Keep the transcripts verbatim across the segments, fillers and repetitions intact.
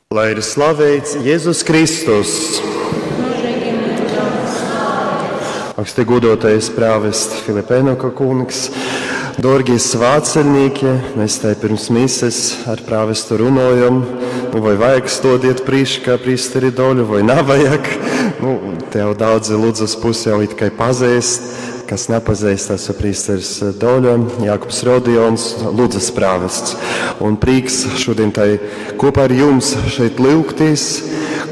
Lai ir slaveits Jēzus Kristus! Mūžīgi mūžam slaveits. Augsti godotais prāvest Filipenoka kungs, dorgie svātceļnieki, mēs tai pirms mises ar prāvestu runojam, nu, vai vajag stodiet prīškā prīsteri Doļu, vai nav vajag. Nu, te jau daudzi Ludzas pusi jau it kā pazīst, kas nepazīst, esmu prīsteris Doļa, Jākubs Rodions, Ludzas prāvests. Un prieks šodien tai kopā ar jums šeit lūgties,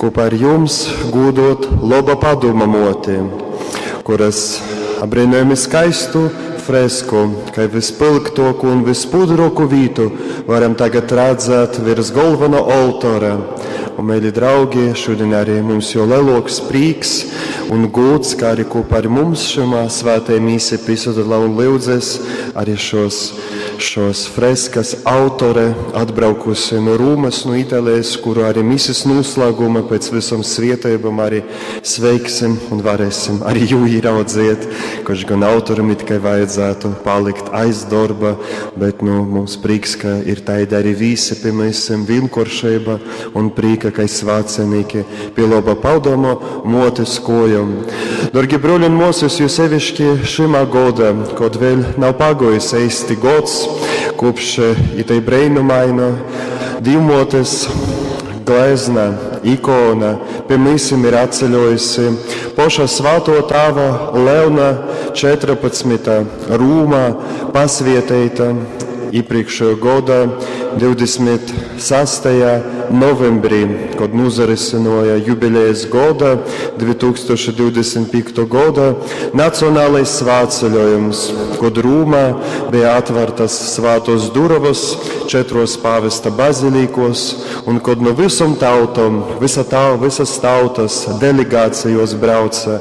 kopā ar jums gūdot loba padoma moti, kuras apbrīnojami skaistu fresku, kai vispilgtoku un vispudroku vītu varam tagad redzēt virs galveno oltora. Un, mīļi draugi, šodien arī mums jau leloks prīks un gods, kā arī kopā ar mums šajā svētajā mīsē pisadalā un lūdzes arī šos, šos freskas autore atbraukusi no Rūmas, no Itālijas, kuru arī mises noslēguma pēc visam svietībam arī sveiksim un varēsim arī jū ieraudziet, kurš gan autoram it kā vajadzētu palikt aiz darba, bet nu, mums prieks, ka ir taida arī visi pie mēs vienkāršība un prīka, ka svācenīki pie laba padomo motes kojam. Dorgi broļi un mosas, jo sevišķi šimā goda, kod vēl nav pagojis eisti gods, kopš itei breinumaina divmotes glezna, ikona pie mysim ir atceļojusi poša svāto tāva Leona četrpadsmitā Rūmā pasvieteita iepriekšējo goda divdesmit sastajā novembrī, kad nozarisinoja jubilejas goda divi tūkstoši divdesmit piekto goda nacionālais svētceļojums, kad Rūmā bija atvērtas svētos durovas četros pāvesta bazilikos un kad no visam tautom, visa tā, visas tautas delegācijos brauca,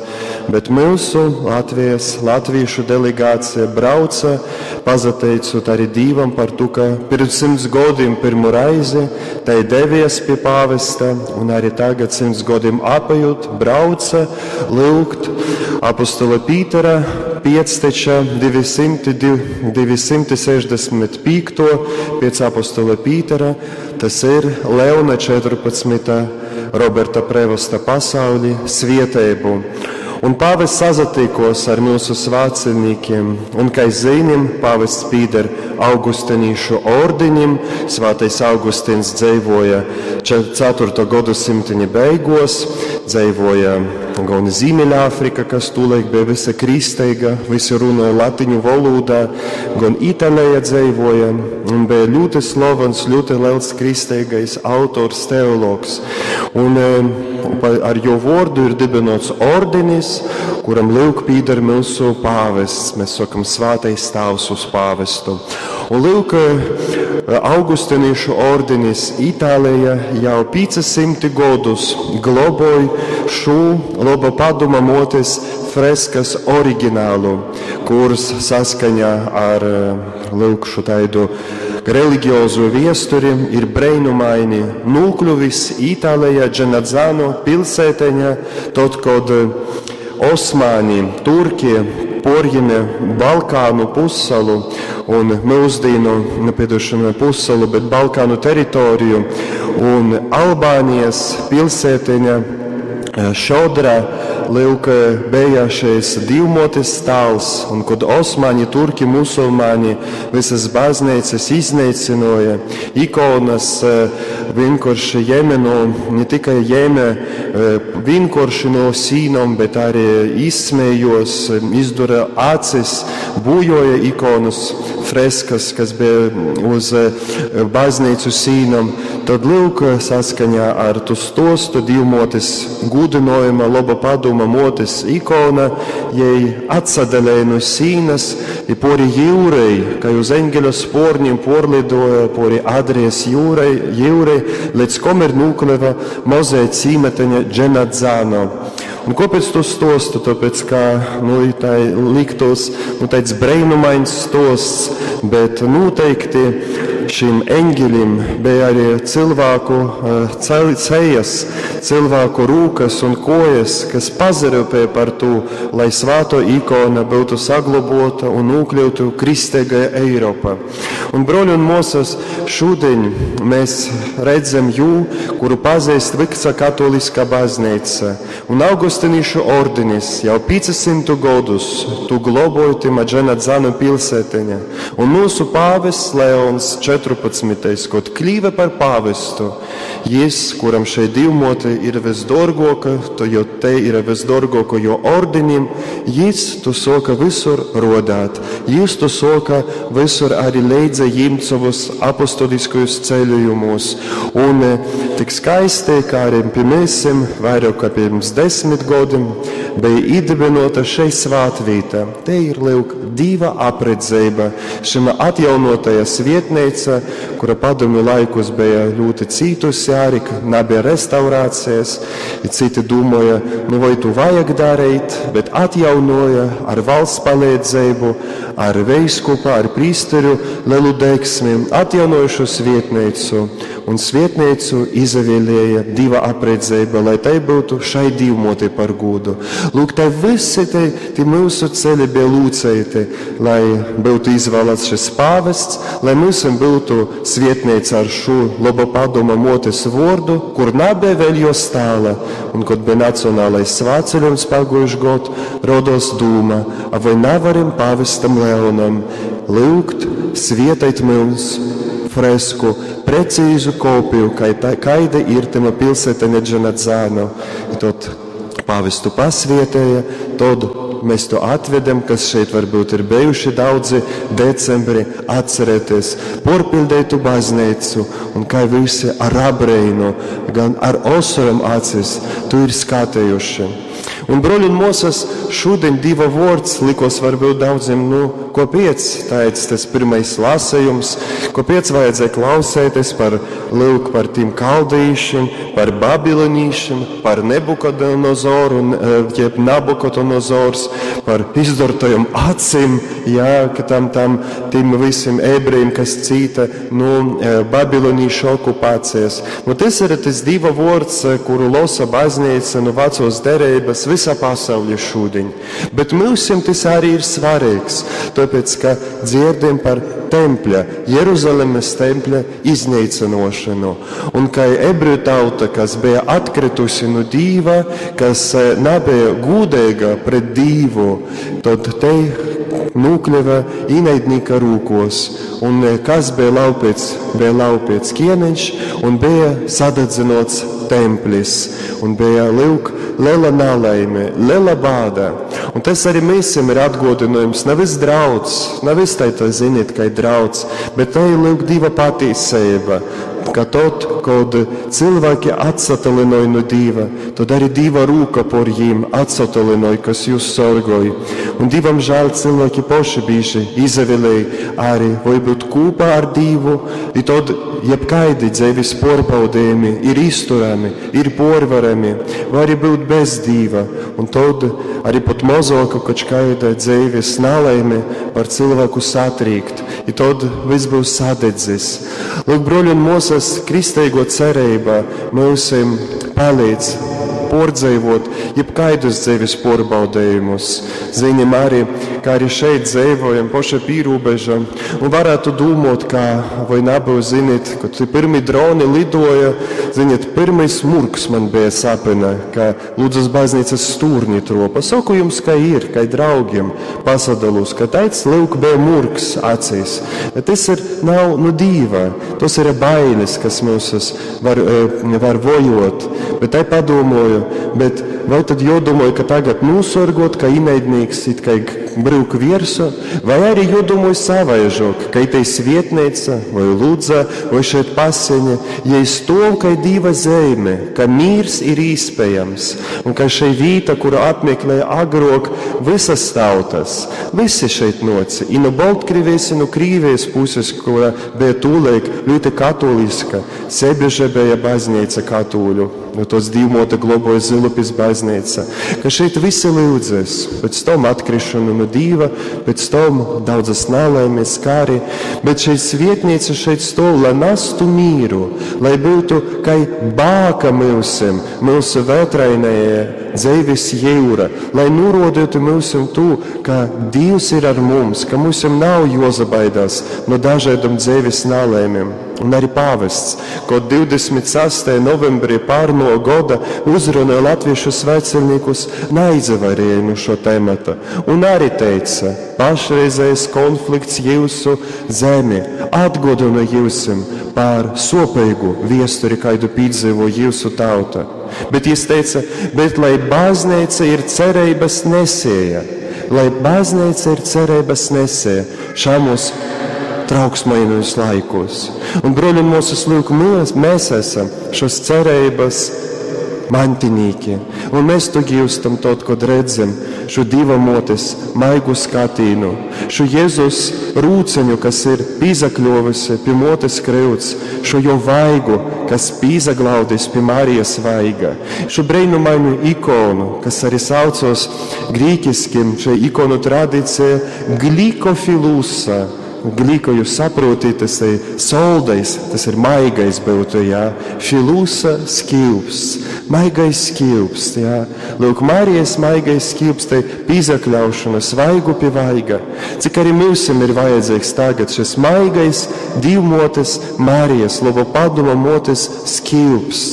bet mūsu Latvijas, latviešu delegācija brauca, pazateicot arī Dievam par to, ka pirms simts gadiem pirmo reizi tai devies pie pāvesta un arī tagad simts gadiem apajot brauca lūgt apostola Pītera piecteča divi simti divi simti sešdesmit piekto pēc apostola Pītera, tas ir Leona četrpadsmitā Roberta Prevosta pasauli svietēbu. Un pāvests sazatikos ar mūsu svētceļniekiem, un, kā zinām, pāvests pīder Augustinīšu ordiņim, svētais Augustins dzeivoja ceturto gadsimtiņa beigos, dzeivoja gan Ziemeļāfrika, kas tūlaik bija visa kristīga, visi runāja latiņu valodā, gan Itālijā dzeivoja, un bija ļoti slavens, ļoti liels kristīgais autors, teologs. Un, eh, ar jo vārdu ir dibinots ordinis, kuram lūk pīder mūsu pāvests. Mēs sakam svētais tēvs uz pāvestu. Un lūk, Augustinīšu ordinis Itālijā jau piecsimti gadus globoj šo laba padoma motes freskas originālu, kuras saskaņā ar lūk šo taidu religiozo viesturi ir breinumaini nokļuvis Itālijā Dženadzano pilsēteņā, tad, kad Osmāni, Turki porņēma Balkānu pussalu un mūsdienu, nepiedošanu pussalu, bet Balkānu teritoriju un Albānijas pilsēteņa Šodra, lūk, bija šis divmotes tāls, un kad Osmaņi, Turki, musulmaņi visas baznīcas iznīcināja, ikonas vienkārši ņēma no, ne tikai ņēma vienkārši no sīnām, bet arī izsmējos, izdura acis, bujoja ikonas, freskas, kas bija uz baznīcu sīnām. Tad lūk, saskaņā ar tu stostu divmotes gudinojuma laba padoma motes ikona, jai atsadalēja no sīnas, i pori jūrai, ka uz eņģeļa sporņiem porlidoja pori Adrijas jūrai, jūrai, līdz komer nokļuva mozē cīmeteņa Dženadzano. Un kāpēc to stostu? Tāpēc, ka, nu, tā liktos, nu, tāds breinumains stosts, bet noteikti šim eņģeļim bija arī cilvēku cejas, cilvēku rūkas un kojas, kas pazaryupēja par to, lai svāto ikona būtu saglabota un nokļūtu kristīgajā Eiropā. Un, broļi un mosas, šodien mēs redzam jū, kuru pazīst visa katoliskā baznīca. Un Augustinīšu ordenis jau piecsimt gadus tu globoja tima Dženadzanu pilsēteņa. Un mūsu pāvests Leons četrpadsmitais, kad kļīva par pāvestu, jis, kuram šeit divmote ir visdorgoka, to jo te ir visdorgoko jo ordenim, jis tu soka visur rodāt. Jis tu soka visur arī leidza ņemt savus apostoliskajus ceļojumus. Un tik skaisti, kā arī pie mēsim, vairāk kā pirms desmit gadiem, bija iedibinota šeit svātvīta. Te ir, lūk, diva apredzēba, šima atjaunotajā svietneica, kura padomju laikus bija ļoti cītusi arī, nebija restaurācijas, i citi domāja, nu vai tu vajag darīt, bet atjaunoja ar valsts palīdzību, ar veiskupa, ar prīsteru lielu deksmi, atjaunojušu svietneicu, un svietneicu izavēlēja diva apredzēba, lai tai būtu šai divmotei par godu. Lūk, te visi te, te mūsu ceļi bija lūceiti, lai būtu izvēlēts šis pāvests, lai mūsim būtu svietneica ar šo labo padoma motes vārdu, kur nebija vēl jo stāla, un kad bija nacionālais svētceļojums pagājuši gadu, rodos dūma, a vai nevaram pāvestam Leonam lūgt svietēt mums fresku, precīzu kopiju, kaida ir tema pilsēta Dženadzano. I tad pāvestu pasvietēja, tad mēs to atvedam, kas šeit varbūt ir bijuši daudzi decembri, atcerēties porpildētu baznīcu un kā visi ar abreinu, gan ar osaram acis, tu ir skatējuši. Un, broļi un mosas, šodien Dieva vārds likos varbūt daudziem, nu, ko piec, tāds tas pirmais lasējums, ko piec vajadzēja klausēties par, lūk, par tiem kaldīšiem, par babilonīšiem, par Nebukodonozoru, jeb Nabukodonozors, par izdortajam acīm, jā, ka tam, tam, tiem visiem ebrejiem, kas cīta, nu, babilonīšu okupācijas. Nu, tas ir tas Dieva vārds, kuru losa baznīca no vecos derības visā pasaulē šodien. Bet mūsim tas arī ir svarīgs, tāpēc, ka dzirdam par tempļa, Jeruzalemes tempļa iznīcinošanu. Un kā ebreju tauta, kas bija atkritusi no Dieva, kas nebija gudīga pret Dievu, tad te nokļuva ienaidnieka rūkos. Un kas bija laupīts? Bija laupīts ķēniņš un bija sadedzinots templis. Un bija, lūk, liela nelaime, liela bāda. Un tas arī mēs ir atgodinājums, nevis drauds, nevis tai, tā ziniet, ka ir drauds, bet te ir lūk Dieva patīsība, ka tad, kad cilvēki atsatelinoja no Dieva, tad arī Dieva rūka por jiem atsatelinoja, kas jūs sorgoja. Un Dievam žēl cilvēki poši bieži izavilēja arī vai būt kopā ar Dievu, i tad jebkaidi dzīves porbaudījumi ir izturami, ir porvarami, vai arī būt bez Dieva. Un tad arī pat mozoka kaut kāda dzīves nelaime var cilvēku satrīkt, i tad viss būs sadedzis. Lūk, broļi un mosas, kristīgo cerība mūsim palīdz pārdzīvot jebkaidus dzīves pārbaudījumus. Ziņam arī, kā arī šeit dzīvojam, paša pīrūbeža, un varētu domāt, kā vai nebūs, ziniet, kad pirmie droni lidoja, ziniet, pirmais murgs man bija sapina, ka Lūdzas baznīcas stūrņi tropa. Saku jums, kā ir, kā draugiem pasadalos, ka taids lūk bija murgs acīs. Bet tas ir nav no Dieva, tas ir bailes, kas mūs var, var vojot. Bet tai padomāju, bet vai tad jodomāju, ka tagad nosorgot, ka ienaidnieks it kā brūk viersu, vai arī jodomāju savaižok, ka itei svietneica vai Ludza vai šeit paseņa, ja stov, ka ir Dieva zeme, ka mīrs ir īspējams, un ka šeit vīta, kuru apmeklēja agrok visas tautas, visi šeit noci, i no Baltkrievijas, i no Krīvijas puses, kura bija tūlaik ļoti katoliska, Sebeža bija baznīca katoļu, no tos divmota globoja Zilupis baznīca, ka šeit visi lūdzas, pēc tam atkrišanu no nu Dīva, pēc tom daudzas nalaimes, kari, bet šeit svietnīca šeit stov, lai nastu mīru, lai būtu kai bāka myusim, myusu vētrainējai dzeives jūra, lai norodītu myusim tū, ka Dievs ir ar mums, ka myusim nav jozabaidās no dažādam dzeives nalaimēm. Un arī pāvests, ko divdesmit sastajā novembrī pārno goda uzrunāja latviešu svētceļniekus, neizvarēja no šo temata. Un arī teica, pašreizējais konflikts jūsu zemi atgodina jūsim par sopīgu viesturi, kaidu piedzīvo jūsu tauta. Bet jis teica, bet lai baznīca ir cerības nesēja, lai baznīca ir cerības nesēja šamos trauksmainos laikos. Un, broļi un māsas, lūk, mēs, mēs esam šos cerības mantinīki. Un mēs to gīstam tad, kad redzam šo Dieva motes maigu skatīnu, šo Jēzus rūceņu, kas ir pīzakļovusi pie motes kryuts, šo jo vaigu, kas pīzaglaudis pie Marijas vaiga, šo brīnumainu ikonu, kas arī saucos grīķiskim, šai ikonu tradīcija glikofilusa. Gliko jūs saprotiet, tas ir soldais, tas ir maigais būtu, jā. Filusa skilps, maigais skilps, jā. Lūk, Marijas maigais skilps, tai pīzakļaušana, svaigu pie vaiga. Cik arī mūsim ir vajadzīgs tagad šis maigais Dievmotes Marijas, labo padoma motes skilps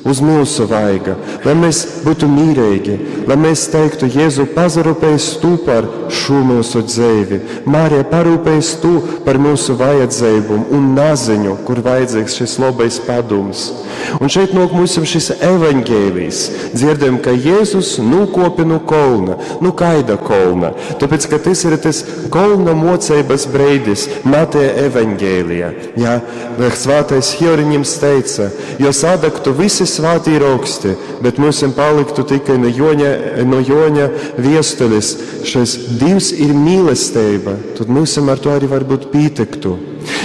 uz mūsu vaiga, lai mēs būtu mīrīgi, lai mēs teiktu, Jēzu, pazarūpējies tu par šo mūsu dzīvi. Marija, parūpējies tu par mūsu vajadzību un naziņu, kur vajadzīgs šis labais padoms. Un šeit nāk mums šis evaņģēlijs. Dzirdam, ka Jēzus nūkopi no kolna, nu kaida kolna. Tāpēc, ka tas ir tas kolna mocības breidis Mateja evaņģēlijā. Jā, svētais Hieronyms teica, jo sadegtu visi svētī roksti, bet mums paliktu tikai no Joņa, no Joņa viestulis. Šis Dievs ir mīlestība, tad mums ar to arī varbūt pietiktu.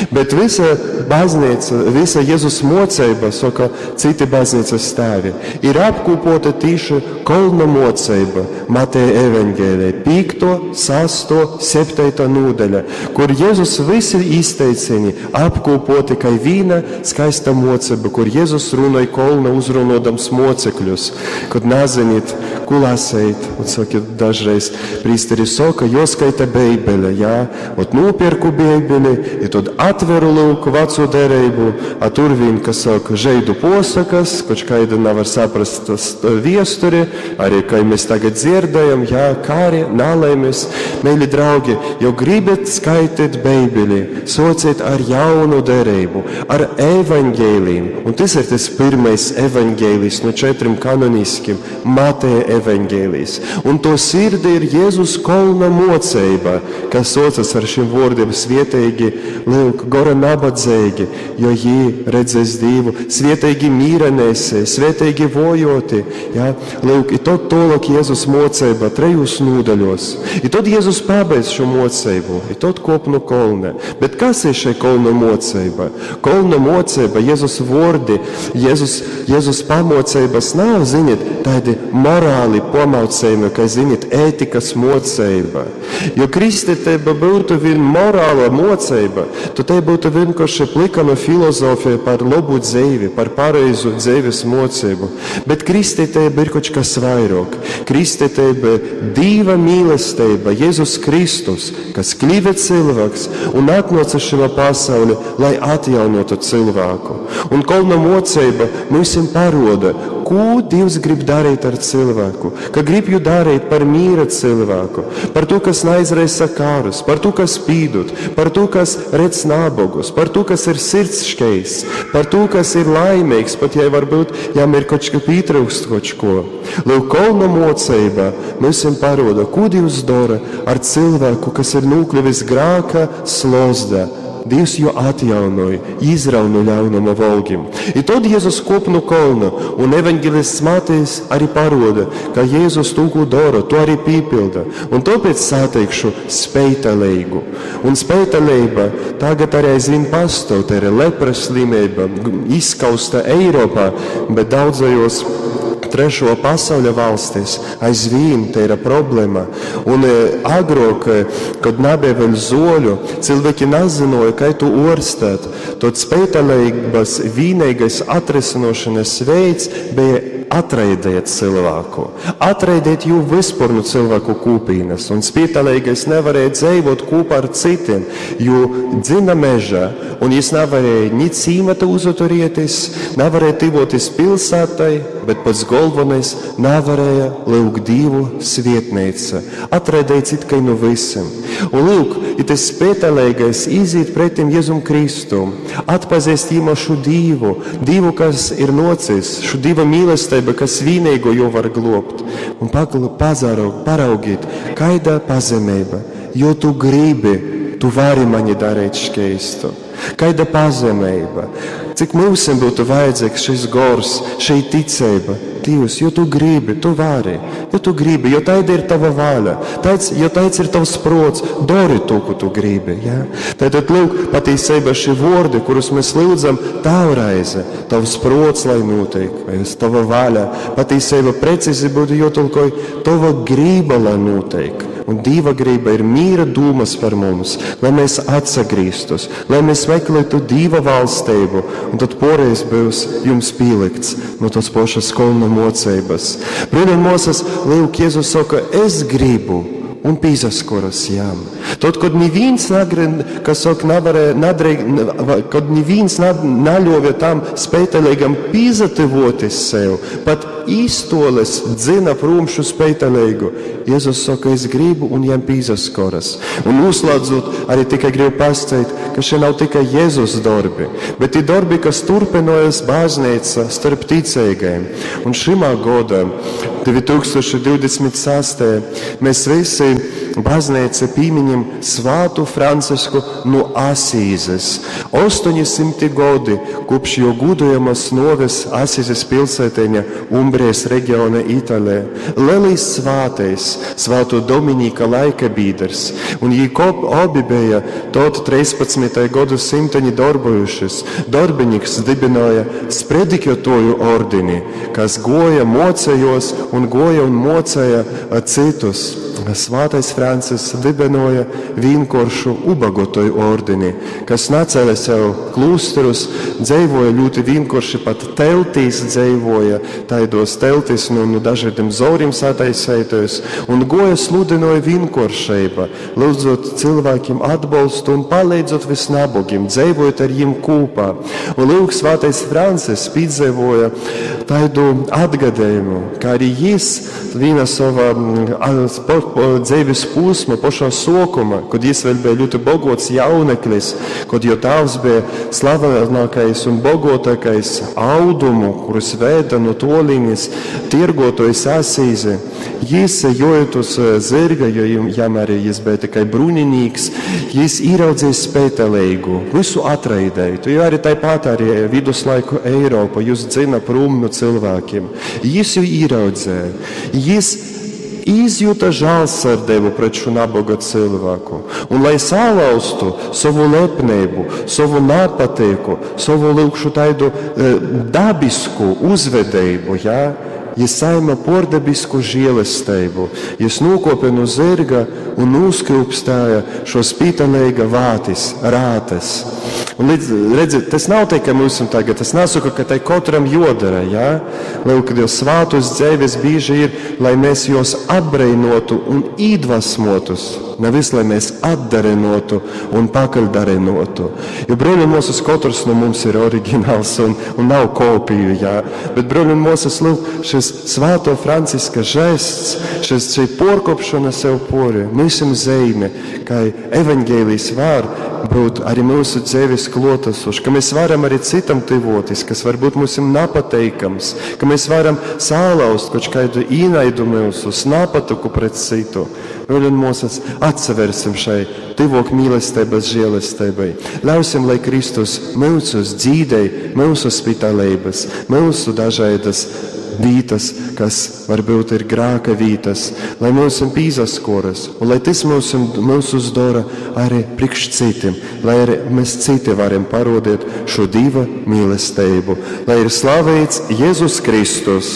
Bet visa baznīca, visa Jēzus mocība, saka citi baznīcas tēvi, ir apkopota tīši kolna mocība Mateja evaņģēlijā, piekto, sesto, septīto nodaļa, kur Jēzus visi izteicieni apkopoti kā vīna skaista mocība, kur Jēzus runāja kolna uzrunodams mocekļus, kad nezinīt, ko lasīt, un saka, dažreiz prīsteri saka, joskaita Bībele, jā, ot nopirku Bībeli, i tad atveru lūk veco derību, a tur vien, kas saka, žeidu posakas, koč kaida nevar saprast tas viesturi, arī, kā mēs tagad dzirdējam, jā, kāri, nalaimes. Mīļi draugi, jo gribat skaitīt Bībeli, societ ar jaunu derību, ar evaņģēlijiem. Un tas ir tas pirmais evaņģēlijs no četriem kanoniskiem, Mateja evaņģēlijs. Un to sirdi ir Jēzus kolna mocība, kas socias ar šiem vārdiem svietīgi, lūk, gora nabadzīgi, jo jī redzēs Dievu, svietīgi mīra nesē, svietīgi vojoti. Ja? Lūk, i tad tolok Jēzus mocība trejos nodaļos. I tad Jēzus pabeidz šo mocību, i tad kop no kolna. Bet kas ir šī kolna mocība? Kolna mocība, Jēzus vordi, Jēzus, Jēzus pamocības nav, ziniet, tādi morāli pamaucējumi, kā, ziniet, ētikas mocība. Jo kristietība būtu vien morāla mocība, tad te būtu vienkārši plikana filozofija par labu dzīvi, par pareizu dzīves mocību. Bet kristietība ir kaut kas vairāk. Kristietība ir Dieva mīlestība, Jēzus Kristus, kas kļuva cilvēks un atnāca šajā pasaulē, lai atjaunotu cilvēku. Un kolna mocība mums paroda, ko Dievs grib darīt ar cilvēku, ka grib jū darīt par mīra cilvēku, par to, kas neizraisa kārus, par to, kas pīdot, par to, kas redz nabagus, par to, kas ir sirds škeists, par to, kas ir laimīgs, pat ja varbūt jām ir kaut ko pietrūkst kaut ko. Lūk, kolna mocība mums paroda, ko Dievs dara ar cilvēku, kas ir nokļuvis grāka slozda. Dievs jo atjaunoja, izrauna no ļaunuma volgiem. I tad Jēzus kop no kolna, un evaņģēlists Matejs arī paroda, ka Jēzus to, ko dara, to arī pīpilda. Un tāpēc sateikšu spētalīgu. Un spētalība tagad arī aizvien pastāv, tā ir lepras slimība, izskausta Eiropā, bet daudzajos Trešo pasauļa valstīs aizvīn te ir problēma. Un agrāk, kad nebija vēl zoļu, cilvēki nezināja, kā to orstēt. Tad spētelības vienīgais atrisinošanas veids bija atraidēt cilvēku, atraidēt jū vispār no cilvēku kūpīnas. Un spītalīgais nevarēja dzīvot kopā ar citiem, jo dzina meža, un jis nevarēja ni cīmata uzaturēties, nevarēja tivoties pilsētai, bet pats galvenais nevarēja lūgt Dievu svietnīca, atraidēts it kā no visiem. Un lūk, ja tas spētelīgais iziet pretim Jēzum Kristum, atpazīst īma šo Dievu, Dievu, kas ir nocis, šo Dieva mīlestību, kas vienīgo jo var globt. Un pazaraug, paraugīt, kaida pazemība, jo tu gribi, tu vari mani darīt šķeistu. Kaida pazemība, cik mums būtu vajadzīgs šis gors, šī ticība. Dievs, jo tu gribi, tu vari, jo tu gribi, jo tāda ir tava vaļa, tāds, jo tāds ir tavs prots, dari to, ko tu gribi. Ja? Tātad, lūk, patiesībā šie vārdi, kurus mēs lūdzam, tavreize, tavs prots, lai notiek, vai tava vaļa, patiesībā precīzi būtu jātulkoj, tava grība, lai notiek. Un Dieva grība ir mīra dūmas par mums, lai mēs atsagrīstus, lai mēs meklētu Dieva valstību, un tad poreiz būs jums pielikts no tos pašas kolna mocības. Bruņi un mūsas, lūk, Jēzus saka, es gribu, un pīzaskoras jām. Tad, kad neviens nagri, kas saka, nevarēja, nadreig, kad neviens naļovja tam spētelīgam pīzativoties sev, pat īstoles dzina prom šo spētelīgu. Jēzus saka, es gribu, un jām pīzaskoras. Un noslēdzot, arī tikai gribu pastāstīt, ka šie nav tikai Jēzus darbi, bet ir darbi, kas turpinojas baznīca starp ticīgajiem. Un šimā godā, divi tūkstoši divdesmit sastajā, mēs visi baznīca pīmiņam Svātu Francisku no Asīzes. Astoņsimti godi kopš jo gudojamas noves Asīzes pilsēteņa Umbrijas reģiona Itālijā. Lielais svātais, Svāto Dominika laika bīders, un jī kop obi bija tot trīspadsmitajā godu simteņi darbojušies. Darbinieks dibināja spredikjotoju ordini, kas goja mocējos un goja un mocēja citus. Svātais Francis dibināja vienkāršu ubagotoju ordini, kas nacēla sev klūsterus, dzīvoja ļoti vienkārši, pat teltīs dzīvoja, taidos teltīs no, no dažādiem zorim sataisētojus, un goja sludinoja vienkāršība, lūdzot cilvēkiem atbalstu un palīdzot visnabogiem, dzīvojot ar viņiem kopā. Un lūk, Svātais Francis piedzīvoja tādu atgadējumu, kā arī jis viena sava dzīves posma, pašā sākuma, kad jis vēl bija ļoti bogots jauneklis, kad jo tēvs bija slavenākais un bogotākais audumu, kurus vēda no tolīnes tirgotojs Asīze. Jis jojot uz zirga, jo jam arī jis bija tikai bruņinīgs, jis ieraudzīja spētelīgu, visu atraidēju. Jo arī tāpat arī viduslaiku Eiropa jūs dzina prom no cilvēkiem. Jis jau ieraudzīja. Jis izjuta žēlsirdību pret šo nabaga cilvēku. Un lai salauztu savu lepnību, savu nepatīku, savu lūkšu tādu e, dabisku uzvedību, ja, jis saima pordabisku žēlastību. Jis nokopja no zirga un uzkrūpstāja šo spītalīga vātis, rātes. Un līdz, redziet, tas nav tikai mums tagad, tas nesaka, ka tai katram jodara, ja? Lūk, kad jau svātus dzīves bieži ir, lai mēs jos apbrēnotu un iedvesmotus, nevis lai mēs atdarinotu un pakaļdarinotu. Jo, bruņi un mūsas, katrs no mums ir oriģināls un, un nav kopiju, jā. Bet, bruņi un mūsas, lūk, šis svēto Franciska žests, šis, šī porkopšana sev pori, mums ir zīme, ka evaņģēlijs var būt arī mūsu dzīves klotasošs, ka mēs varam arī citam tuvoties, kas varbūt mums ir nepateikams, ka mēs varam salauzt kaut kādu īnaidu mūsu, napatuku pret citu. Bruņi un mūsas, atsaversim šai tuvok mīlestības žēlastībai. Ļausim, lai Kristus mūsus dzīdei, mūsu spitalības, mūsu dažādas vītas, kas varbūt ir grāka vītas, lai mūs pīzaskoras, un lai tas mūs, mūsus dara arī priekš citiem, lai arī mēs citi varam parodīt šo Dieva mīlestību. Lai ir slavēts Jēzus Kristus.